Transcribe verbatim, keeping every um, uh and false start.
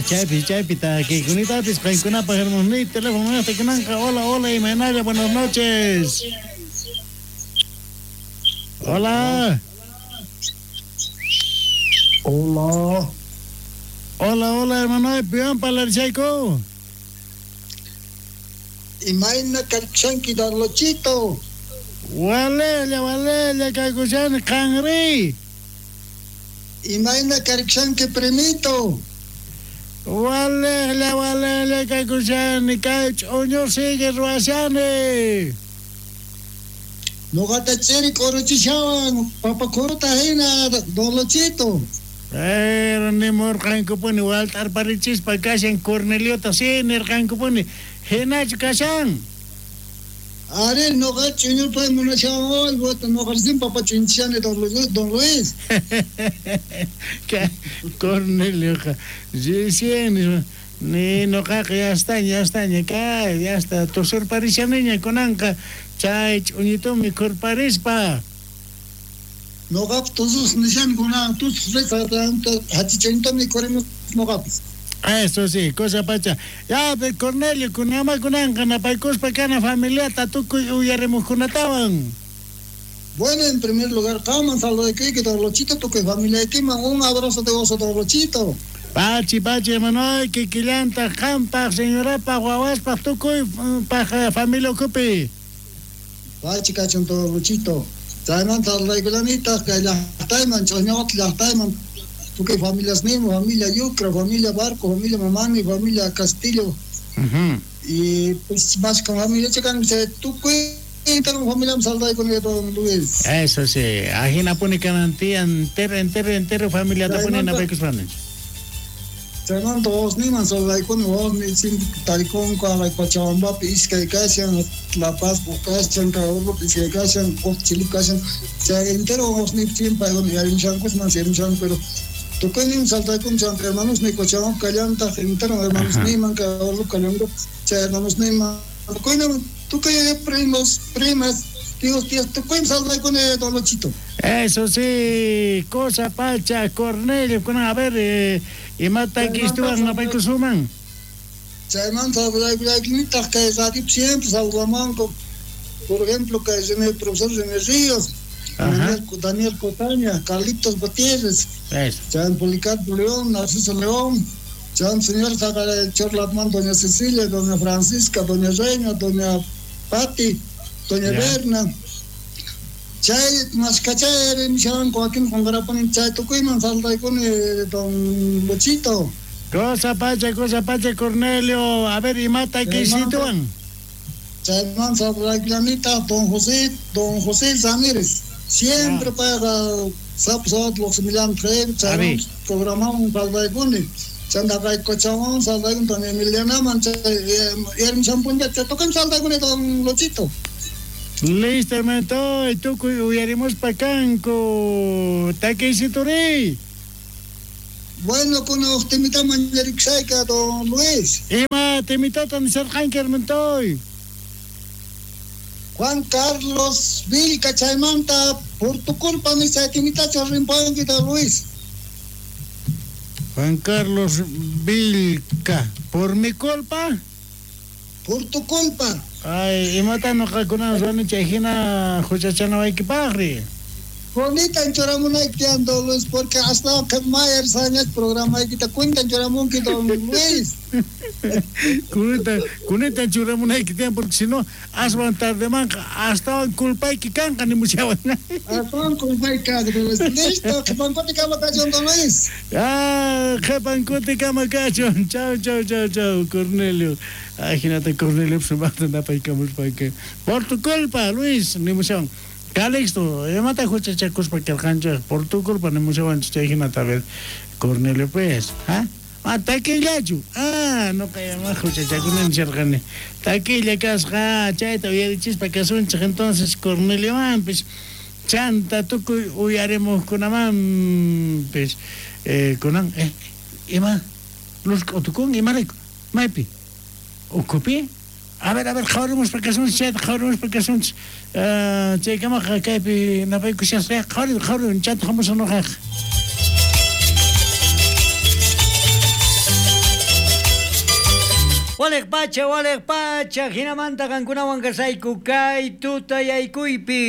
Chaypi, chaypi takikunitapis qankunapaq hermanosniy teléfono kunanqa. Hola, hola, imaynalla, buenas noches. Hola. Hola. Hola, hola, hermano, piwan parlarchayku. Imayna karchanki, Darlochito. Walela, walela, kaykushani qanri. Imayna karchanki, primito. Walela, walela, kaykushani, kay ch'uñu sigue ruwashani. Noqata chiri k'uruchishawan, papa k'uruta hina, Darlochito. Pero nimurqankupuni walt'arparichispa kashan Corneliota, sí, nirqankupuni, hinachu kashan. Ari, noqa ch'uñupay munashawan, noqa recién papa ch'uñuchishani, don Luis, don Luis. Cornelioqa, recién ni noqaqa ya está, ya está, kay, ya está, tusurparishaniña kunanqa chay ch'uñitumi mikhurparispa. Noqap tusus nishan kunan tusus hachich'uñitumi mikhurimus noqapis. Eso sí, cosa pacha. Ya, pero Cornelio, kunama kunanqa napaykuspa kana familiata tukuy uyarimuqkunatawan. Bueno, en primer lugar, qaman saludayki, Darlochito, tukuy familiaykiman un abrazo de oso, Darlochito. Pachi, pachi, hermano, kikillanta qampaq, señorapaq, wawaspaq, tukuy paq familia ukupi. Pachi kachun, Darlochito. Chaymanta saludaykulanitaq kay llaqtayman, ch'uñuqata llaqtayman, tukuy familias mismo, familia Yucra, familia Barco, familia Mamani, familia Castillo. Uh-huh. Y pues más con familia chican, se tukuy familia saludaykunan, don Luis. Eso sí, ajina puni kanantia entero, entero, entero familia tapuni napaykuspanin. Chaymanta wawasniyman saludaykuni, wawasniy siempre tarikunku Cochabambapi iskay kashan, La Paz kashan, Carabobo iskay kashan, Chile kashan, chay entero wawasniy siempre yarimushankusman, yarimushanku, pero tukuynin saltaykuni chay hermanosniy Cochabamba kallantaq, entero hermanosniyman, Carabobo kallanku, chay hermanosniyman, tukuynin, tukuy primos, primas, tíos, tías, tukuynin saludaykuni, don Luchito. Eso sí, cosa pacha, Cornelio, a ver, eh, imata kistuwan napaykusuman. Chaymanta saludaykulanitaq kay radio siempre saludamanku. Por ejemplo, kay el profesor René Ríos, Daniel, Daniel Cotaña, Carlitos Gutiérrez, Chay Policarpo León, Narciso León, chay señor Chorlatman, doña Cecilia, doña Francisca, doña Reina, doña Pati, doña Berna. Chay mascachay mishan Joaquín Jongarapani chay tukuyman saludaykuni, don Luchito. Cosa pacha, cosa pacha, Cornelio. A ver, imata kisituan. Chayman saludaykulanita don José, don José Ramírez. Siempre ah. paga sap sap los milán tres, chay programamos saludaykuni. Chanda Cochabamba saludaykuni doña Emiliana man chay yermishampuncha chay tukuy saludaykuni, don Luchito. Listo, hermano, y tukuy uyarimuspa kanku. Takisituri. Bueno, con los temita mañarixayka, don Luis. Ima temitata nisarqanki, hermano. Juan Carlos Vilca chaymanta, por tu culpa, mi chay temitacha rimpanki, don Luis. Juan Carlos Vilca, ¿por mi culpa? Por tu culpa. Ay, imata noqakuna ruwani chay hina huchachanawaykipaqri. Bonita churamunayki tiyan, don Luis, porque hasta que mayer sañas programaykita cuentan churamunki, don Luis. Kunita, kunita churamunayki tiyan, porque si no, aswan tardemanqa astawan culpayki kanqa nimushawan. Astawan culpayki kanqa, don Luis. Listo, qhipankuti kama kachun, don Luis. Ah, qhipankuti kama kachun. Chau, chau, chau, chau, Cornelio. Ajinata Cornelio sumaqta napaykamuspa. Por tu culpa, Luis, nimushawan. Calixto, imata huchachakuspa karqanchik, por tu culpa nimushawanchik chay hinata, a ver, Cornelio, pues, ¿ah? Ah, takillachu. Ah, no kayama huchachakunan nisharqani. Takilla kasqa, chayta uyarichispa kasunchik, entonces Corneliomanpis, chanta tukuy uyarimuqkunamanpis, eh, kunan, eh, ima, luz k'utukun, imarayku, maypi, ukupi. A ver, a ver, qhawarimuspa kasunchik, chayta qhawarimuspa kasunchik. Chaykamaqa kaypi napaykushasqa, qhawari, qhawari, chanta hamusaq noqaqa. Walej pacha, walej pacha, hinamanta qankunawan kasayku kay tutayaykuypi.